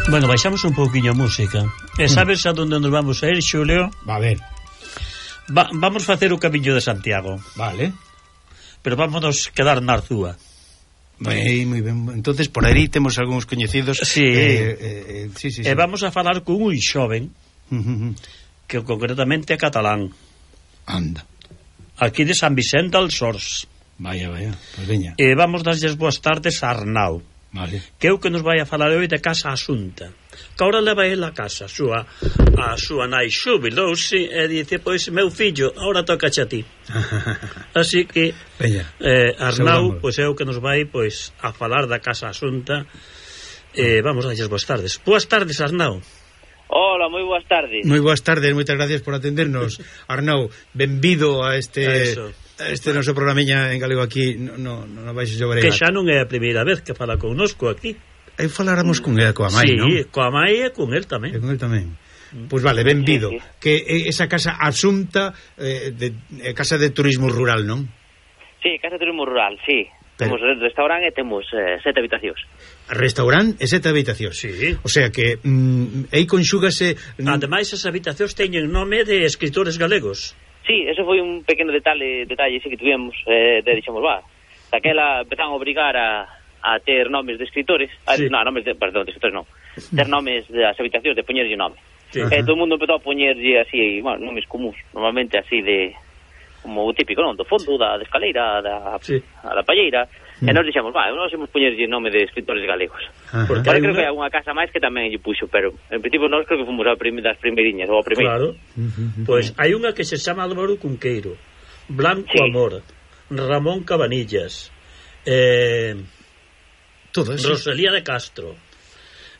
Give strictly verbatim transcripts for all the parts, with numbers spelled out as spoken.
Bueno, baixamos un pouquiño a música. E sabes a donde nos vamos a ir, Xulio? Va a ver. Va, vamos facer o Camiño de Santiago. Vale. Pero vámonos quedar na Arzúa. Moi, moi ben. Entonces por aí temos algúns coñecidos. Sí. Eh, eh, sí, sí, sí. E vamos a falar con un xoven Uh-huh. que concretamente é catalán. Anda. Aquí de San Vicente als Ors. Vaya, vaya. Pois veña. E vamos darlles boas tardes a Arnau, Vale. que é o que nos vai a falar hoy de Casa Asunta. Que ahora leva ele a casa a súa, a súa nai xubilouse e dice, pois meu fillo, ahora toca a ti. Así que Veña. eh, Arnau, Saudamos. pois é o que nos vai pois a falar da Casa Asunta. Eh, vamos a darlles boas tardes. Boas tardes, Arnau. Hola, moi boas tardes. Moi boas tardes, moitas gracias por atendernos. Arnau, benvido a este Eso. a este noso programiña en galego aquí no, no, no Baixo Llobregat. Que xa non é a primeira vez que fala connosco aquí. Aí faláramos con ele, coa Sí, mai, non? coa mai e con el E tamén. con el tamén. Pois vale, benvido. Sí, sí. Que eh, esa casa Asunta eh, de, eh, casa de turismo rural, non? Sí, Casa de Turismo Rural, sí. Pero- Temos restaurante e temos eh, sete habitacións. Restaurante e sete habitacións. Sí. O sea que mm, aí conxúgase mm, Ademais, as habitacións teñen nome de escritores galegos. Sí, eso foi un pequeno detalle, detalle sí que tuvemos, eh, de dixemos, va, daquela empezan a obrigar a, a ter nomes de escritores, a, Sí. no, nomes de, perdón, de escritores non, ter nomes das habitacións, de poñerlle nome. Sí. E todo o mundo empezou a poñerlle así, bueno, nomes comuns, normalmente así de, como o típico, non? Do fondo, da, da escaleira, da, Sí. a da palleira, Mm. e nós dixemos, va, nós imos poñerlle nome de escritores galegos. Ajá. Porque Ahora hai creo unha- que hai unha casa máis que tamén lle puxo, pero en principio nós creo que fomos a prim das primeirinhas, ou a primeira. Claro. Pois hai unha que se chama Álvaro Cunqueiro, Blanco Sí. Amor, Ramón Cabanillas, eh, todo eso. Rosalía de Castro,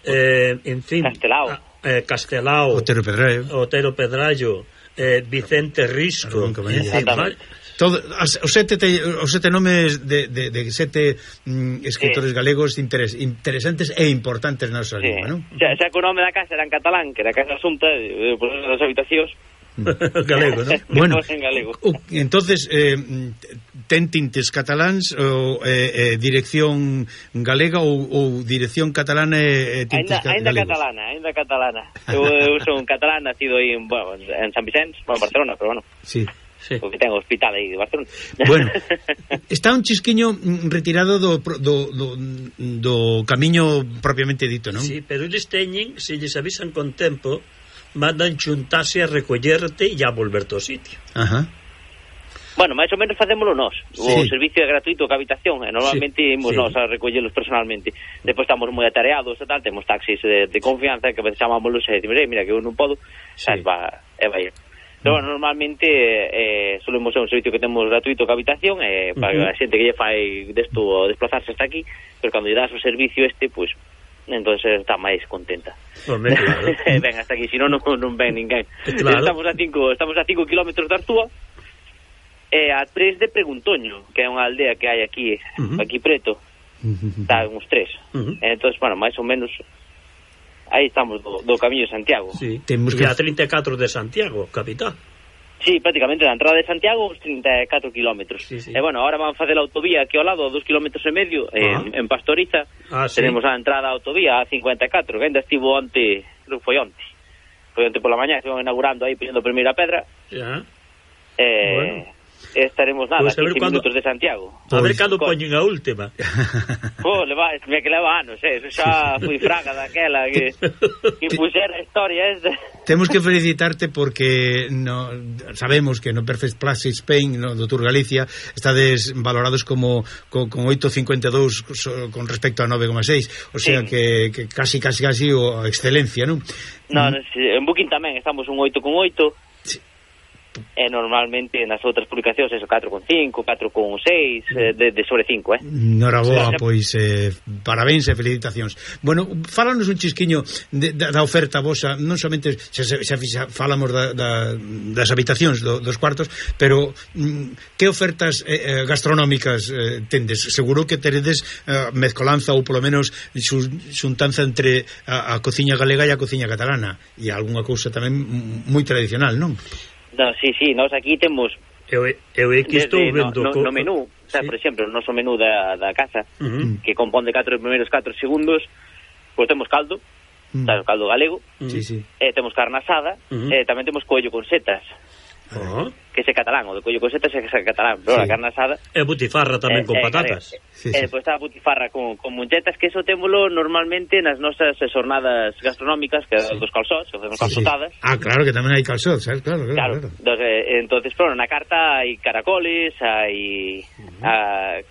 eh, en fin, Castelao. a- eh, Castelao, Otero Pedraeo. Otero Pedrallo, eh, Vicente Risco, Ramón Cabanillas. en fin, Exactamente. vai- Todo, as, os, sete te, os sete nomes de, de, de sete mm, escritores Sí. galegos interes, interesantes e importantes na nosa Sí. lingua, non? Xa, xa que o nome da casa era en catalán, que era Casa Asunta, eh, por eso das habitacións. galego, non? Bueno, en galego. o, entonces eh, ten tintes cataláns ou eh, eh, dirección galega ou, ou dirección catalana e eh, tintes Ainda, ainda galegos. catalana, ainda catalana. Eu, eu son catalán, nacido aí en, bueno, en San Vicente, bueno, en Barcelona, pero bueno, Sí. Sí. porque ten hospital aí de Barcelona. Bueno, está un chisquiño mm, retirado do, do, do, do camiño propiamente dito, non? Sí, pero eles teñen, se lles avisan con tempo, mandan xuntase a recollerte e a volverte ao sitio. Ajá. Bueno, máis ou menos facémolo nós. O Sí. servicio é gratuito ca habitación, e normalmente Sí, imos sí. nós a recollelos personalmente. Depois estamos moi atareados e tal, temos taxis de, de confianza que a veces chamámoslos e decimos, "Eh, mira que eu non podo", Sí. sabes, va, e vai. Pero bueno, normalmente eh, solemos ser un servicio que temos gratuito ca habitación e para Uh-huh. a xente que lle fai desto desplazarse hasta aquí, pero cando lle das o servicio este, pois entonces está máis contenta. Home, claro. Ven hasta aquí, si non, non, non ven ninguén. Claro. Estamos a cinco, estamos a cinco kilómetros de Arzúa e a tres de Preguntoño, que é unha aldea que hai aquí, Ujú. aquí preto, está uns tres. Ujú. Entón, bueno, máis ou menos aí estamos do, do Camiño de Santiago. Sí. Temos E que- a trinta e catro de Santiago, capital. Sí, prácticamente da entrada de Santiago uns trinta e catro kilómetros. Sí, sí. E bueno, ahora van a facer a autovía aquí ao lado, a dos kilómetros e medio, Ah. en, en Pastoriza. Ah, sí. Tenemos a entrada a autovía a cincuenta e catro, que ainda estivo onte, creo que foi onte. Foi onte pola mañá, estivo inaugurando aí, poñendo a primeira pedra. Ya. Eh, Bueno. estaremos nada, Pois a ver quince cuando- minutos de Santiago. A ver Pois- cando Co- poñen a última. Oh, leva, me que leva anos, eh. Eso xa foi fraga daquela que, que puxera a historia esta. Temos que felicitarte porque no, sabemos que no Perfect Plus Spain, no, do Tour Galicia, estades valorados como co, con oito coma cincuenta e dous so, con respecto a nove coma seis, o sea Sí. que, que casi, casi, casi o a excelencia, non? No, no, si, en Booking tamén estamos un oito con oito. Sí. E normalmente nas outras publicacións eso catro con cinco, catro con seis, eh, de, de sobre cinco, eh. Noraboa, Sí. pois eh, parabéns e felicitacións. Bueno, fálanos un chisquiño de, da, da oferta vosa, non somente xa, xa, xa falamos da, da, das habitacións do, dos cuartos, pero mm, que ofertas eh, eh, gastronómicas eh, tendes? Seguro que teredes eh, mezcolanza ou polo menos xun, xuntanza entre a, a cociña galega e a cociña catalana e algunha cousa tamén mm, moi tradicional, non? No, sí, sí, nós aquí temos Eu, eu é que estou desde no, vendo no, co- no menú, o sea, Sí. por exemplo, o noso menú da, da casa, Ujú. que compón de catro primeiros catro segundos, pois temos caldo, mm. sabes, o caldo galego, mm. sí, sí. E temos carne asada, mm. e tamén temos coello con setas. Oh. Que ese catalán, o de collo con setas é catalán, pero sí. A carne asada e butifarra tamén eh, con eh, patatas e sí, sí. eh, pois está a butifarra con, con munchetas, que eso témolo normalmente nas nosas jornadas gastronómicas, que sí. Dos calzóns, que facemos sí, calzotadas sí. Ah, claro, que tamén hai calzóns, ¿sabes? Claro, claro, claro. claro. Entonces, eh, entonces bueno, na carta hai caracoles, hai uh-huh. a,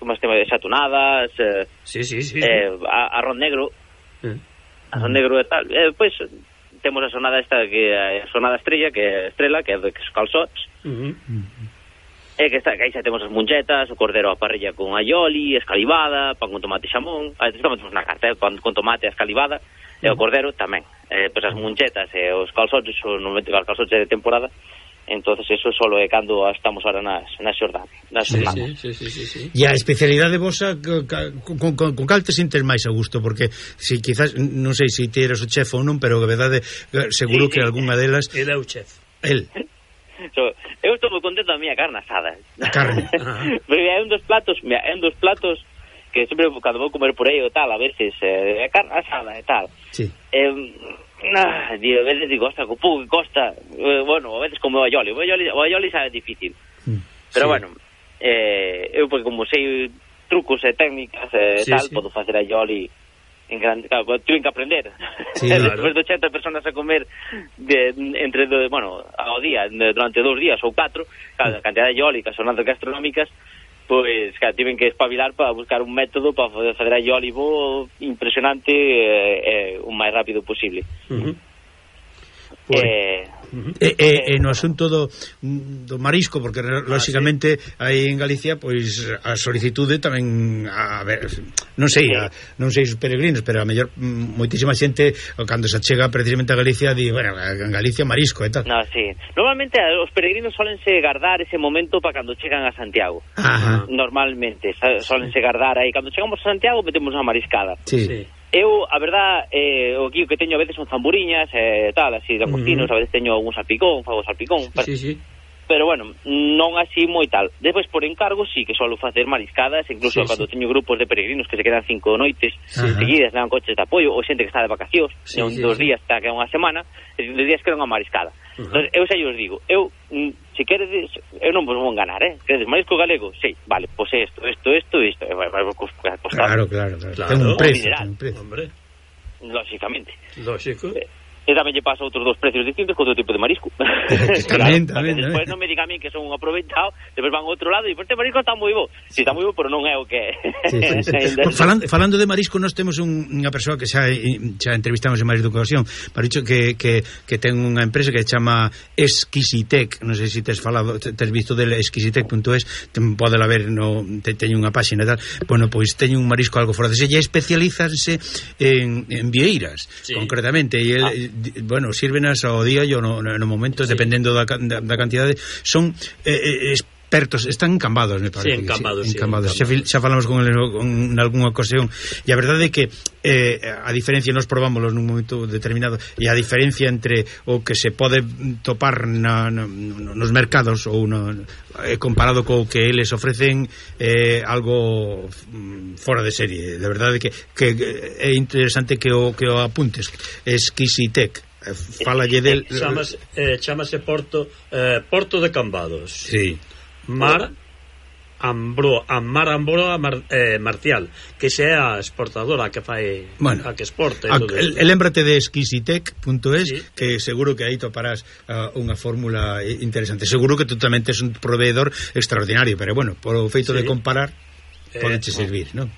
como se chama, xatunadas, eh, sí, sí, sí, eh, sí. A, arroz negro uh-huh. arroz negro e tal, eh, pois pues, temos a sonada esta, que é a sonada estrella, que é estrela, que é de calzóns. Uh-huh. E que, está, que aí xa temos as munchetas, o cordero a parrilla con aioli, escalivada, pan con tomate e xamón. A veces temos na carta, eh, pan con tomate e escalivada, uh-huh. E o cordero tamén. Eh, pois as munchetas e os calzóns, son normalmente os calzóns de temporada. Entonces eso solo é cando estamos ahora nas, nas xordadas, nas sí, semanas. Sí, sí, sí, sí. E a especialidade vosa con, con, con, con cal te sintes máis a gusto? Porque si quizás, non sei se ti eres o chef ou non, pero a verdade seguro sí, que sí. Algunha delas... El é o chef. El. So, eu estou moi contento da miña carne asada. A carne. Pero é un dos platos, mira, é un dos platos que sempre cando vou comer por aí ou tal, a veces é eh, carne asada e tal. Sí. Eh, Ah, digo, a veces digo, costa, co pouco que costa, eh, bueno, a veces como o aioli, o aioli, o aioli xa é difícil, mm, pero sí. Bueno, eh, eu porque como sei trucos e técnicas e sí, tal, sí. Podo facer aioli en grande, claro, tuve que aprender, sí, claro. Despois de ochenta personas a comer de, entre, de, bueno, ao día, de, durante dous días ou catro, claro, a cantidad de aioli, as jornadas gastronómicas, pois, claro, tiven que espabilar para buscar un método para fazer a aioli bo impresionante e eh, eh, o máis rápido posible. Uh-huh. Pues, eh, uh-huh. e, e, e no asunto do, do marisco, porque lógicamente ah, sí. Aí en Galicia pois a solicitude tamén a ver, non sei, sí. a, non sei os peregrinos, pero a mellor moitísima xente cando se chega precisamente a Galicia di, bueno, en Galicia marisco e tal. No, sí. Normalmente os peregrinos solense guardar ese momento para cando chegan a Santiago. Ajá. Normalmente solense guardar aí cando chegamos a Santiago metemos unha mariscada. Sí. Sí. Eu, a verdad, eh, o que que teño a veces son zamburiñas e eh, tal, así de agostinos, uh-huh. A veces teño algún salpicón, fago salpicón, sí, pero, sí, sí. Pero bueno, non así moi tal. Despois por encargo sí que solo facer mariscadas, incluso sí, cando sí. Teño grupos de peregrinos que se quedan cinco noites sí. Seguidas, levan coches de apoio, ou xente que está de vacacións, sí, un, sí, dos sí. Días está que é unha semana, e dos días queda unha mariscada. Uh-huh. Entonces, eu xa os digo, eu se queredes, eu non vos vou enganar, eh? Queredes marisco galego? Sí, vale, pois pues isto, isto, isto, isto, vai, vai costar. Claro, claro, claro. Ten un precio, ten un precio. Hombre. Lógicamente. Lógico. Eh, e tamén lle pasa outros dos precios distintos con outro tipo de marisco. Tamén, tamén. Despois non me diga a mí que son un aproveitado, despois van a outro lado e depois este marisco está moi bo. Si, está moi bo, pero non é o que sí, sí, sí. falando, falando de marisco, nós temos un, unha persoa que xa, xa entrevistamos en máis de ocasión, para dicho que, que, que ten unha empresa que se chama Exquisitec, non sei se tes falado, tes visto del exquisitec punto es, pode la ver, no, te, teño unha páxina e tal. Bueno, pois teño un marisco algo fora de se, e especializanse en, en vieiras, sí. Concretamente, e el, ah. Bueno, sírvenas ao día e no, no momento, sí. Dependendo da, da, da cantidade, son eh, expertos, están encambados, me parece. Sí, encambados, sí, sí, encambados. encambados. Xa, xa falamos con el en algunha ocasión, e a verdade é que eh, a diferencia, nos probámoslos nun momento determinado, e a diferencia entre o que se pode topar na, na, nos mercados ou no, eh, comparado co que eles ofrecen, eh, algo fora de serie. De verdade que, que é interesante que o, que o apuntes. Exquisitec. Fálalle del... Chamase, eh, chamase Porto eh, Porto de Cambados. Sí. Mar Ambro, a Mar Ambroa Mar, eh, Marcial, que sea a exportadora que fai, bueno, a que exporte a, el, Lémbrate de exquisitec punto es, sí. Que seguro que aí toparás uh, unha fórmula interesante. Seguro que tú tamén tes un proveedor extraordinario, pero bueno, por o feito sí. De comparar eh, podeche servir, non?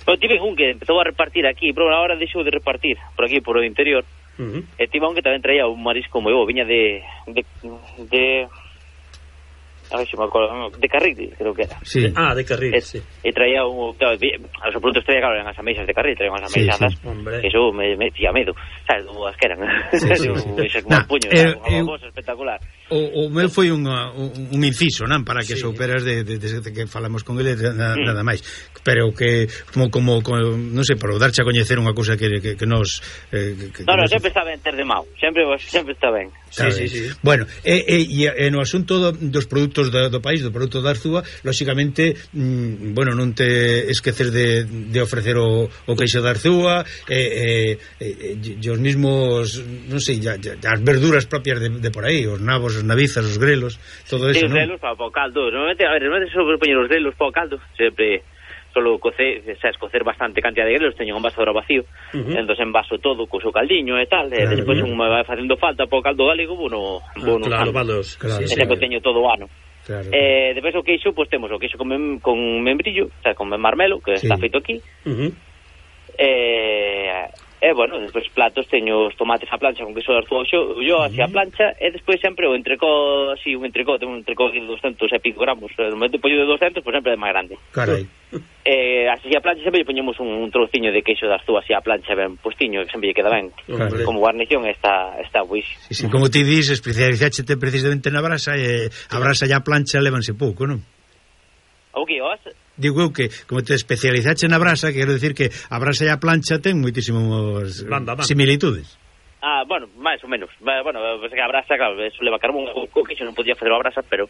Pero tive un que empezou a repartir aquí, pero agora deixou de repartir por aquí, por o interior. Uh-huh. E tive un que tamén traía un marisco moi bo, viña de de, de a ver se me acordo, de Carril, creo que era. Sí. Ah, de Carril, e, sí. E traía un, claro, a los produtos traía, claro, eran as ameixas de Carril, traían as ameixadas, sí, sí. Eso me, me tía medo, sabes, as que eran, sí, sí, sí. Un, nah, puño, eh, unha eh, espectacular. O, o meu foi unha, un, un inciso, non? Para que sí. souperas de, de, de, de que falamos con ele nada, mm. nada máis. Pero que, como, como, como non sei, para darche a coñecer unha cousa que, que, que nos... Eh, que, no, no, nos... sempre está ben ter de mau. Sempre, sempre está ben. Sí, sí, sí. Bueno, e, e, e no asunto do, dos produtos do, do país, do produto da Arzúa, lóxicamente, mm, bueno, non te esqueces de, de ofrecer o, o queixo da Arzúa, e, e, e, e os mismos, non sei, ya, ya, as verduras propias de, de por aí, os nabos, os navizas, os grelos, todo eso, sí, non? Os grelos para o caldo. Normalmente, a ver, normalmente só poñer os grelos para o caldo, sempre solo cocer, sabes, cocer bastante cantidad de grelos, teño un vaso vacío, uh -huh. entón envaso todo co seu caldiño e tal, claro, e despois un me vai facendo falta para o caldo galego, bueno, ah, bueno, claro, valos, claro, e sempre teño todo o ano. Claro. Eh, despois o queixo, pois pues, temos o queixo con, mem, con membrillo, o sea, con marmelo, que sí. está feito aquí. Uh -huh. Eh... E, bueno, despois platos teño os tomates a plancha con queso de Arzúa xo, yo así a plancha, e despois sempre o entrecó, así, un entrecó, tengo un entrecó de doscientos e pico gramos, no momento pollo de doscientos, pois pues sempre é máis grande. Carai. Eh, así a plancha sempre lle poñemos un, un trociño de queixo de Arzúa así a plancha ben postiño, que sempre lle queda ben. Claro. Como guarnición está, está buis. Sí, sí, como ti dis, especializáchete precisamente na brasa, e a brasa e a plancha levanse pouco, non? O que, os? Digo eu que, como te especializache na brasa, quero decir que a brasa e a plancha ten moitísimos banda, banda. similitudes. Ah, bueno, máis ou menos. Bueno, pues que a brasa, claro, eso leva carbón, o que non podía facer a brasa, pero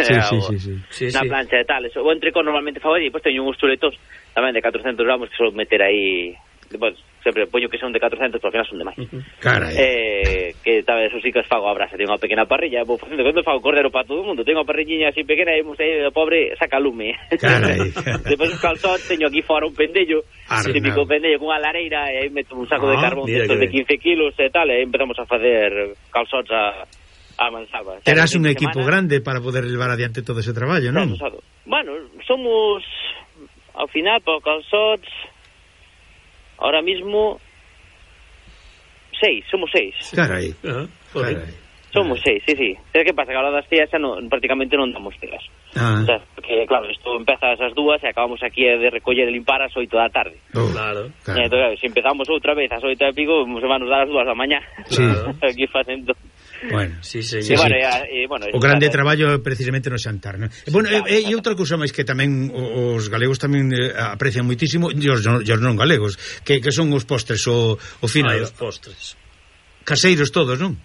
sí, sí, sí, sí. sí, na sí. plancha e tal, eso. O entrecó normalmente fago aí, pois teño uns chuletos tamén de catrocentos gramos que solo meter aí, pues, sempre poño que son de catrocentos, pero ao final son de máis. Uh -huh. Carai. Eh, que tal vez, eso sí que os fago a brasa, teño unha pequena parrilla, vou facendo, cando fago cordero para todo o mundo, teño unha parrilliña así pequena e o pobre saca lume. Carai. Despois os calzots, teño aquí fora un pendello, un típico pendello con unha lareira, e aí meto un saco ah, de carbón de quince kilos e tal, e aí empezamos a facer calzots a, a mansalva. Terás un equipo semana grande para poder levar adiante todo ese traballo, non? Bueno, somos, ao final, para calzots, ahora mismo seis, somos seis. Carai. Uh -huh. Carai. Somos seis, sí, sí. ¿Sabes que pasa? Que a hora das tías xa no, prácticamente non damos telas. Ah. O sea, porque, claro, isto empeza a esas dúas e acabamos aquí de recoller e limpar as oito da tarde. Oh, claro. claro. E, entón, claro, se empezamos outra vez ás oito e pico, se van nos dar as dúas da mañá. Claro. Aquí facendo... Bueno, sí, sí, sí, sí. Bueno, e, e, bueno, o grande está, traballo é precisamente no xantar, non? Sí, bueno, claro, e, e outra cousa máis que tamén os galegos tamén eh, aprecian moitísimo, e os, os non galegos, que, que son os postres o, o final. Ah, os postres. Caseiros todos, non?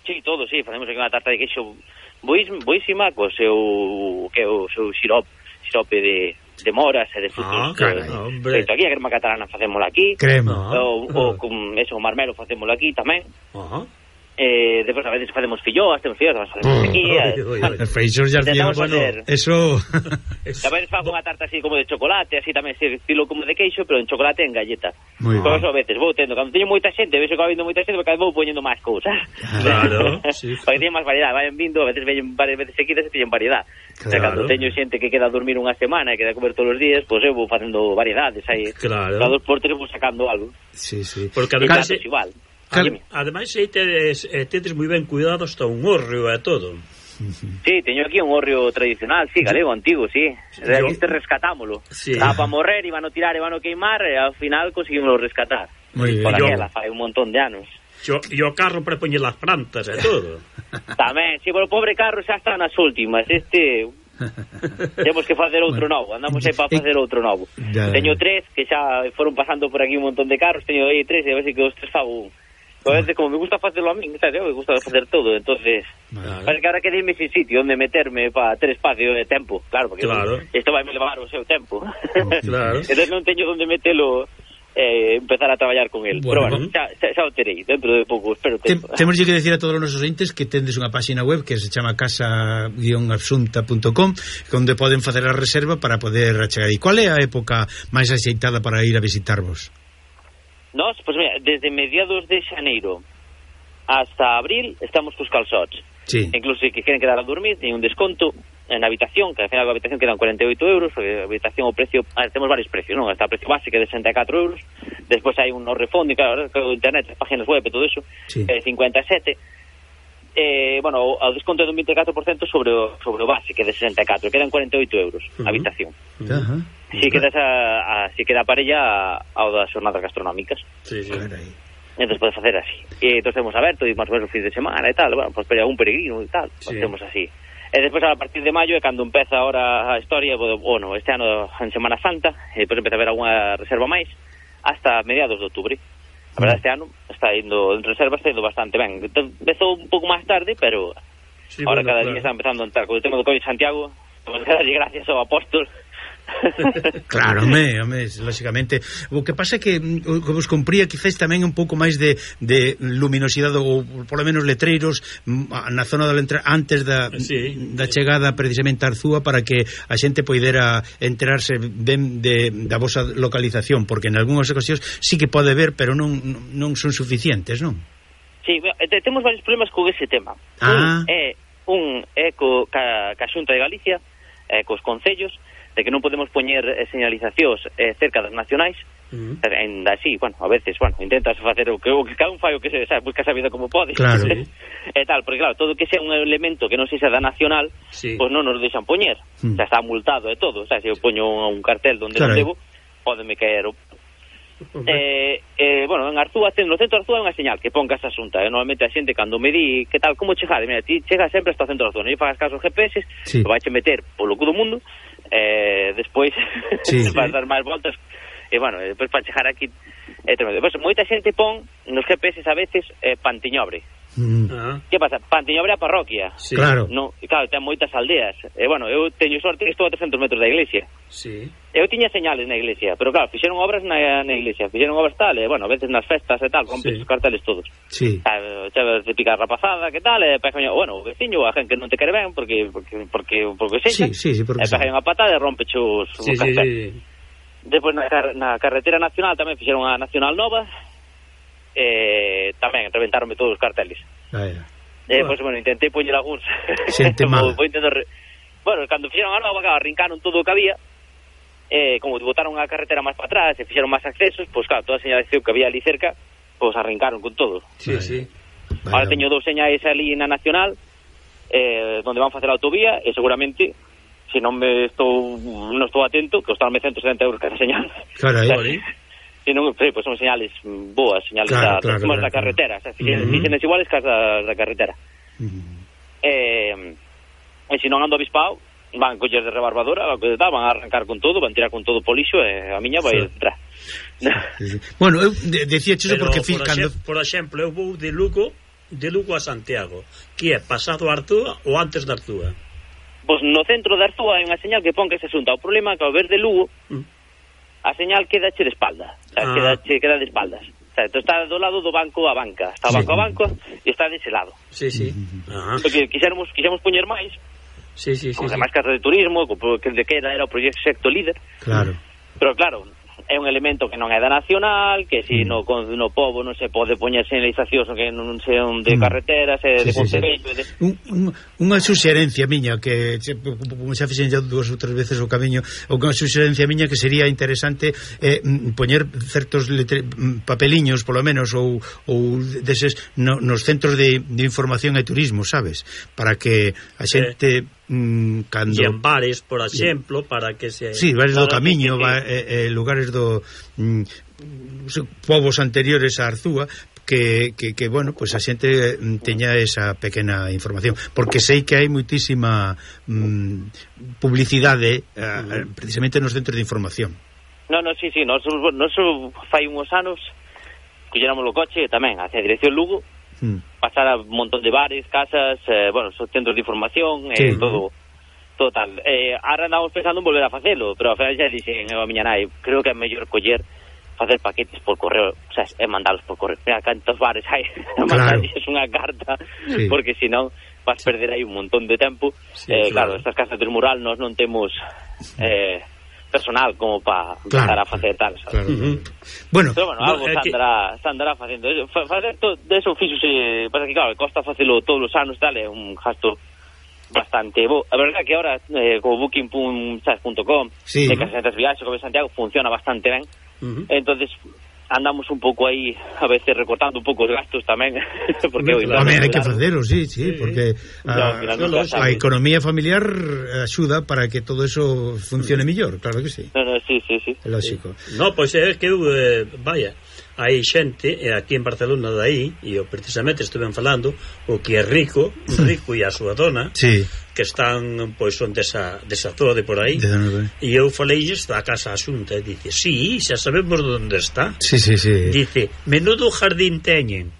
Sí, todos, sí, facemos aquí unha tarta de queixo boísima, co seu, que o seu xirop, xirope de, de moras e de frutos. Ah, carai, hombre. Feito aquí, a crema catalana facémola aquí. Crema. O, o, con eso, o marmelo facémola aquí tamén. Ajá. Eh, despois a veces facemos filloas, temos filloas, facemos aquí. Os feixos ya tío, bueno, eso. Tamén fago unha tarta así como de chocolate, así tamén, así, estilo como de queixo, pero en chocolate en galleta. Moi Por eso a veces vou tendo, cando teño moita xente, vexo que va vindo moita xente, porque vou poñendo máis cousas. Claro, sí. Porque teñen máis variedade, vayan vindo, a veces veñen varias veces seguidas e teñen variedade. Claro. O sea, cando teño xente que queda a dormir unha semana e queda a comer todos os días, pois pues eu vou facendo variedades aí. Claro. Cada dos por tres vou sacando algo. Sí, sí. Porque además é igual. Cal... Ademais, aí tedes, eh, tedes moi ben cuidado hasta un hórreo e todo. Sí, teño aquí un hórreo tradicional, sí, galego, antigo, sí. De aquí este rescatámoslo. Sí. Estaba para morrer, iban a tirar, iban a queimar, e ao final conseguimos rescatar. Moi ben. Por aquela, fai un montón de anos. E o carro para poñer las plantas e todo. Tamén, sí, pero o pobre carro xa está nas últimas. Este... Temos que facer outro novo, andamos aí para facer outro novo. Ya, teño tres que xa foron pasando por aquí un montón de carros, teño aí tres e a ver se que os tres fago un. A veces, como me gusta facelo a mí, ¿sabes? Me gusta facer todo, entonces vale. Parece que ahora que dime sin sitio onde meterme para ter espacio de tempo, claro, porque claro. Isto vai me levar o seu tempo. Claro. Entonces non teño onde metelo, eh, empezar a traballar con el. Bueno, pero bueno, xa, xa, xa o terei dentro de pouco, espero tempo. Tem, temos que decir a todos os nosos ointes que tendes unha página web que se chama casa guion absunta punto com, onde poden facer a reserva para poder achegar. E qual é a época máis axeitada para ir a visitarvos? Nos, pois pues mira, desde mediados de xaneiro hasta abril estamos cos calzots. Sí. Incluso se que queren quedar a dormir, teñen un desconto en habitación, que al final a habitación quedan cuarenta e oito euros, porque a habitación o precio, a ver, temos varios precios, non? Está o precio base que é de sesenta e catro euros, despois hai un no refund, claro, o internet, páginas web e todo eso, sí. É cincuenta e sete. Eh, bueno, o desconto é dun vinte e catro por cento sobre o, sobre o base, que é de sesenta e catro, quedan cuarenta e oito euros a uh -huh. habitación. Uh -huh. Si queda esa, a, si queda a parella ao das xornadas gastronómicas. Sí, sí. entón pode facer así. E entón temos aberto e máis ou menos o fin de semana e tal, bueno, pois pues, un peregrino e tal, sí. Pues temos así. E despois a partir de maio é cando empeza ahora a historia, bueno, este ano en Semana Santa, e depois empeza a haber alguna reserva máis hasta mediados de outubro. A verdade, este ano está indo en reserva, está indo bastante ben. Empezou un pouco máis tarde, pero sí, ahora bueno, cada claro. día está empezando a entrar. Con o tema do Covid Santiago, pues, gracias ao apóstol. Claro, home, home, lógicamente. O que pasa é que o que vos compría quizás tamén un pouco máis de, de luminosidade ou polo menos letreiros na zona da entrada antes da, sí. da chegada precisamente a Arzúa para que a xente poidera enterarse ben de, da vosa localización, porque en algunhas ocasións sí que pode ver, pero non, non son suficientes, non? Sí, temos varios problemas con ese tema. Ah. Un é, un é co, ca, ca Xunta de Galicia, eh, cos concellos, de que non podemos poñer eh, señalizacións eh, cerca das nacionais, uh-huh. en así, bueno, a veces, bueno, intentas facer o que, o que cada un fai o que se, sabe, busca esa vida como pode. Claro. E tal, porque claro, todo que sea un elemento que non sexa da nacional, sí. Pois pues non nos deixan poñer. Uh-huh. O sea, está multado e todo, o sea, se eu poño un, un cartel donde claro. Non debo, pódeme caer o... Eh, eh, bueno, en Arzúa, no centro de Arzúa é unha señal que ponga esa asunta. eh? Normalmente a xente cando me di que tal, como chegar, mira, ti chega sempre hasta o centro de Arzúa, non lle fagas caso aos G P S, sí. Vai che meter polo cu do mundo, eh, despois sí. Vas dar máis voltas, e bueno, despois para chegar aquí é tremendo. Pues, moita xente pon nos G P S a veces eh, Pantiñobre. Mm. Uh-huh. Que pasa? Pantiñobre é a parroquia. Sí. Claro. No, claro, ten moitas aldeas. E eh, bueno, eu teño sorte que estou a trescentos metros da iglesia. Sí. Eu tiña señales na iglesia, pero claro, fixeron obras na, na iglesia, fixeron obras tal, e bueno, a veces nas festas e tal, rompes sí. Os carteles todos. Sí. Chaves de picar rapazada, que tal, e pegaño, bueno, o veciño, a gente que non te quere ben, porque porque porque porque sexa. Sí, sí, sí, porque e pegaño a patada e rompe os sí, os carteles. Sí, sí. Despois na, na carretera nacional tamén fixeron a nacional nova, e tamén reventaronme todos os carteles. Ah, yeah. Eh, pois, pues, bueno, intentei poñer algúns. Xente mala. Re... Bueno, cando fixeron a nova, claro, arrincaron todo o que había, eh, como botaron a carretera máis para atrás e fixeron máis accesos, pois pues, claro, toda a señalización que había ali cerca, pois pues, arrincaron con todo. Sí, vale. Sí. Ahora vale. Teño dous señais ali na Nacional, eh, donde van facer a autovía, e seguramente, se non me estou non estou atento, que costarme ciento setenta euros cada señal. Carai, vale. Si non, sí, pues son señales boas, señales claro, da, claro, claro, da claro. carretera, o sea, uh-huh. fixenes iguales que as da, da carretera. Uh-huh. Eh, e se non ando avispado, van coller de rebarbadora, van a arrancar con todo, van tirar con todo po lixo e a miña vai sí. entrar. Sí, sí. Bueno, eu de, decía eso porque por, cando... por exemplo, eu vou de Lugo, de Lugo a Santiago, que é pasado a Arzúa ou antes da Arzúa? Pois no centro da Arzúa hai unha señal que pon que se xunta. O problema é que ao ver de Lugo, mm. a señal queda che de espalda, o sea, ah. queda, che, queda de espaldas. O sea, tú está do lado do banco a banca, está sí. banco a banco e está dese lado. Sí, sí. Ajá. Porque quixéramos, quixéramos poñer máis, sí, sí, sí, como sí. máis casa de turismo, que de que era, era o proxecto líder. Claro. Pero claro, é un elemento que non é da nacional, que si mm. no, no pobo non se pode poñer señalizacións que non sean de mm. carreteras, e sí, de concello, sí, sí. de... Un, un, unha suxerencia miña que como xa fixen ya dúas ou tres veces o camiño, unha suxerencia miña que sería interesante eh, poñer certos letre, papeliños polo menos ou, ou deses no, nos centros de, de información e turismo, sabes? Para que a xente eh. Mm, cando... e en bares, por exemplo, para que se... Sí, bares do camiño, que... va, eh, eh, lugares do mm, povos anteriores a Arzúa que, que, que bueno, pues a xente teña esa pequena información, porque sei que hai moitísima mm, publicidade eh, precisamente nos centros de información. No, no, sí, sí, nos, nos fai uns anos colléramos o coche tamén hacia a dirección Lugo, mm. pasar a un montón de bares, casas, eh, bueno, son centros de información, sí. eh, todo, todo tal. Eh, ahora andamos pensando en volver a facelo, pero a final xa dixen a miña nai, creo que é mellor coller, facer paquetes por correo, o sea, é mandalos por correo. Mira, cantos bares hai, claro. Mandarles unha carta, sí. Porque senón vas perder aí un montón de tempo. Sí, eh, claro. claro, estas casas del mural nós non temos... Eh, personal como para empezar claro, a facer tal, sabes? Claro. Uh-huh. Bueno, pero bueno, algo no, se andará, que... se andará facendo. Facer todo de eso fíxose, pasa que claro, costa facelo todos os anos, tal, é un gasto bastante bo. A verdade que ahora eh, como booking punto com, sí, de que as viaxes como Santiago funciona bastante ben. Uh-huh. Entonces andamos un pouco aí a veces recortando un pouco os gastos tamén porque hoy claro, hai que facelo, sí, sí, sí, porque a, no, no, a economía familiar axuda para que todo eso funcione mellor, claro que sí. No, no, sí, sí, sí. É lógico. No, pois pues é que eu, eh, vaya, hai xente, e aquí en Barcelona dai, e eu precisamente estuve falando, o que é rico, rico e a súa dona, sí, que están, pois son desa, desa zona de por aí, de e eu faleilles da Casa Asunta, e dice, sí, xa sabemos onde está. Sí, sí, sí. Dice, menudo jardín teñen.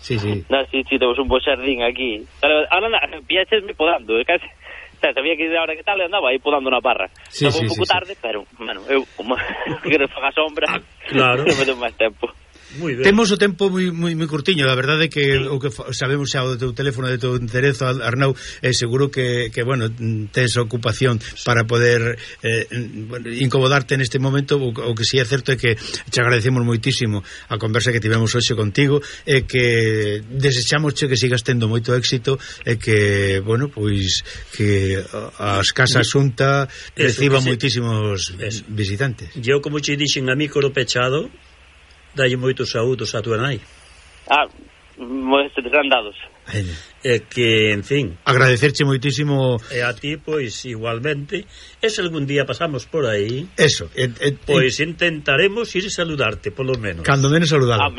Sí, sí. No, sí, sí, temos un bo xardín aquí. Pero ahora piachesme podando, eh, casi. O sea, sabía que ahora que tal andaba aí podando na parra. Sí, Estaba sí, un pouco sí, tarde, sí. Pero, bueno, eu como quero faga sombra, ah, claro. non me dou máis tempo. Muy ben. Temos o tempo moi moi moi curtiño, a verdade é que sí. O que sabemos xa o teu teléfono de teu enderezo, Arnau, é seguro que, que bueno, tes ocupación para poder eh, bueno, incomodarte neste momento. O, o que si é certo é que te agradecemos moitísimo a conversa que tivemos hoxe contigo, e que desexamos que sigas tendo moito éxito, e que, bueno, pois que as Casas Xunta reciban moitísimos eso. Visitantes. Eu, como che dixen a micro pechado, dalle moitos saúdos a tua nai. Ah, moi serán dados. É que, en fin, agradecerche moitísimo. E a ti, pois, igualmente. E se algún día pasamos por aí, eso, et, et, pois intentaremos ir saludarte, polo menos. Cando menos saludalo. Ah,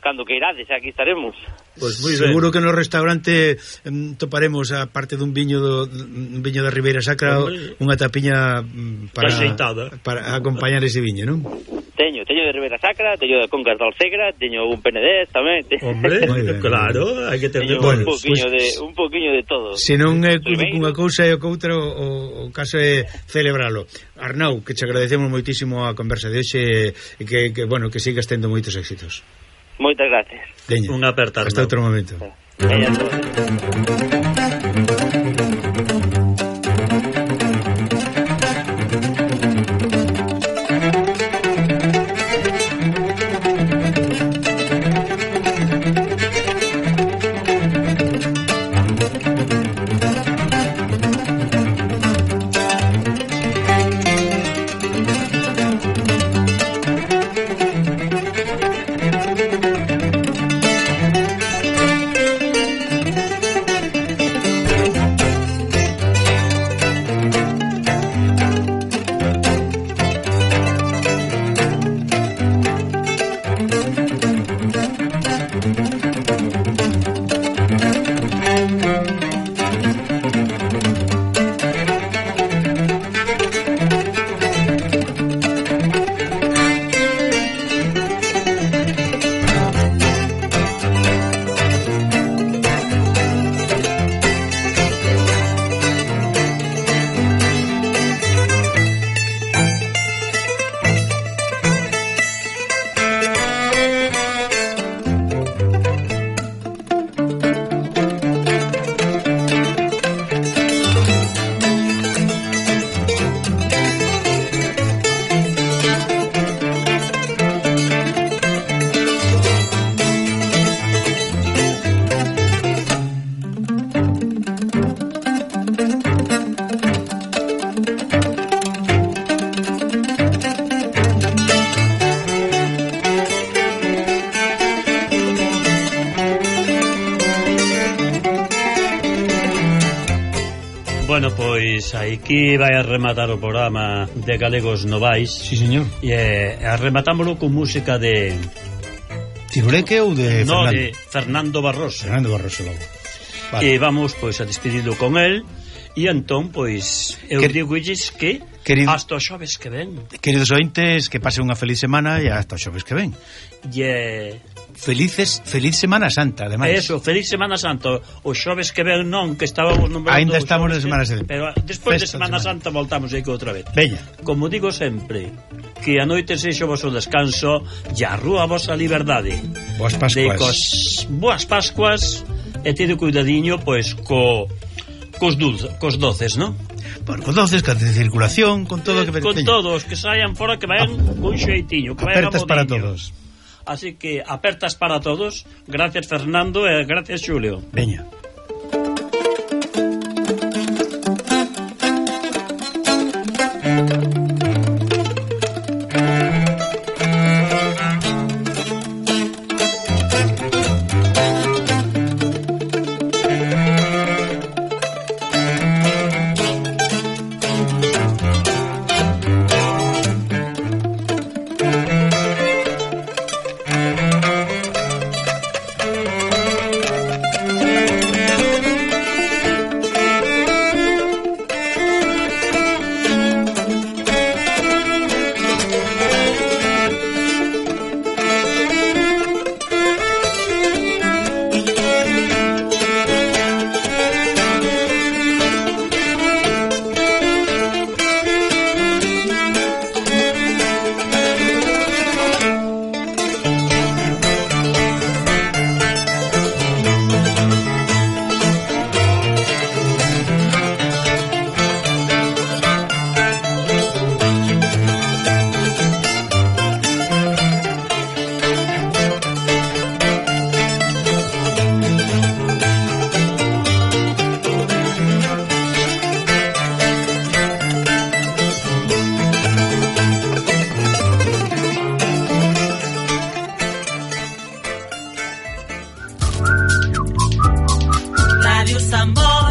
cando que irades, aquí estaremos. Pues muy seguro ben. Que no restaurante um, toparemos a parte dun viño do, un viño da Ribeira Sacra, unha tapiña um, para, para acompañar ese viño, non? Teño, teño de Ribeira Sacra, teño de Concas da Alcegra, teño un penedés tamén. Hombre, ben, claro, hai que ter bueno, un poquinho pues, de un poquinho de todo. Se non é unha cousa e o coutra, o, o caso é celebralo. Arnau, que te agradecemos moitísimo a conversa de hoxe, e que, que bueno, que sigas tendo moitos éxitos. Moitas gracias. Un apertar. Hasta outro momento. Bueno, pois aquí vai a rematar o programa de Galegos Novais. Sí, señor. E eh, rematámoslo con música de Tiruleque ou de no, Fernando? de Fernando Barroso. Fernando Barroso logo. Vale. E vamos pois a despedirlo con él. E entón, pois, eu Quer... digo illes que Querido... hasta os xoves que ven. Queridos ointes, que pase unha feliz semana e hasta os xoves que ven. E yeah. Felices, feliz Semana Santa, ademais. Eso, feliz Semana Santa. Os xoves que ven non, que estábamos nombrando. Ainda estamos na Semana Santa. Pero despois de Semana, de Semana Santa voltamos aí outra vez. Veña. Como digo sempre, que a noite sexo vosso descanso e a rúa vosa liberdade. Boas Pascuas. Cos, boas Pascuas e tede cuidadiño, pois, co cos dulces, cos doces, non? Bueno, con doces, con circulación, con todo eh, que con todos, que saian fora, que vayan ah. con xeitinho, que vayan apertas para todos. Así que apertas para todos. Gracias, Fernando, e gracias, Xulio. Veña. tambor.